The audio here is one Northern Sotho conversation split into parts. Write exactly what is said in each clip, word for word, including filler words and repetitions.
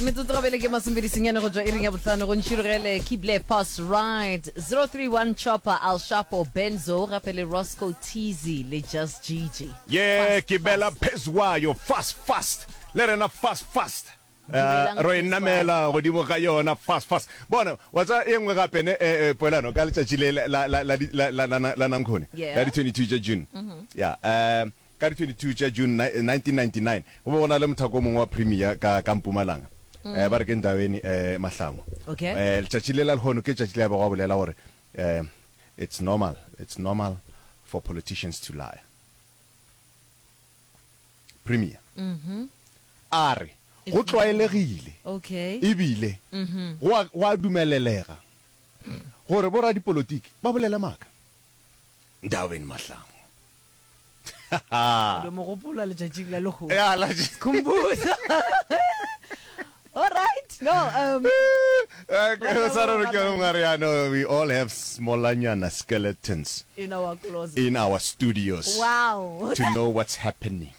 Metsotso gabele ke masomepedi senyane go tšwa iring ya bohlano go ntšhirogele keep left pass right zero three one Chopper, Al Shapo, Benzo gape le Roscoe Teasy le Just Gigi. Ye ke bela phezwayo fast fast le rena fast fast Dumelang ro e Phezwayo. namela godimo ga yona fast fast bona wa tseba e nngwe gape ne eh, eh, poelano ka letšatši le la la la la la la la la nankgone Yeah. la di twenty two tša June ya um Ka di twenty two tša June nineteen ninety nine, go be go na le mothako o mongwe wa Premier ka, ka Mpumalanga, eh, ba re ke Ndaweni eh, Mahlangu. Okay. Eh, letšatši le la lehono ke letšatši le a bego a bolela gore eh, it's normal, it's normal for politicians to lie. Premier a re go tlwaelegile Okay. ebile go a, go a dumelelega gore boradipolotiki ba bolele maaka. Ndaweni Mahlangu. Lo mo gopola letšatšing la lehono. Ya, la Khumbuza. All right. No, um Eh, sa re ke ngare ya no we all have smallanyana skeletons in our closet. in our studios. Wow. To know what's happening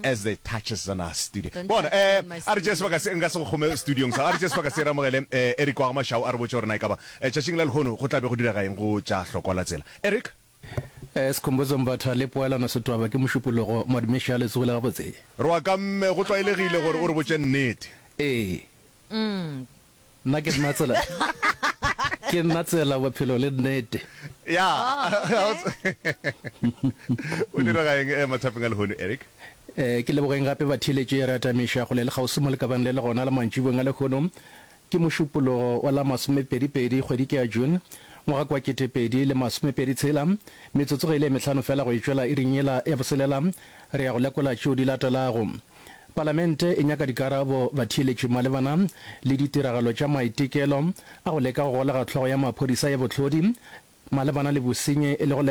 as they touch us in our studio. Don't Bona touch me eh in my a re tšee studio. sebaka se nka se go kgome studiong sa a re tšee sebaka se re amogele eh Eric wa ga Mashau a re botše gore na ekaba eh, tšatšing la lehono go tla be go direga eng go tša hlokwa la tsela. Eric Skhumbuzo Mbatha le Poelano Setwaba ke Mošupologo, Madumeši a le tsogile gabotse? Re wa ka mme, go tlwaelegile gore o re botše nnete. Ee. Nna ke nna tsela, ke nna tsela, bophelo le nnete. Ya. O direga eng mathapeng a lehono, Eric? Ke lebogeng gape batheeletši, re atamiša kgole le kgauswi mo lekabang le le gona la mantšiboeng a lehono. Ke Mošupologo wa la masomepedi-pedi kgwedi ke ya June, ngwaga ke wa kete pedi le masomepedi tshela. Metsotso ge e le e mehlano fela go e tšwela iring yela ya boselela, re ya go lekola tšeo di latelago. Palamente e nyaka dikarabo batheeletši malebana le ditiragalo tša maitekelo a go leka go golega hlogo ya maphodisa ya bohlodi malebana le bosenyi e lego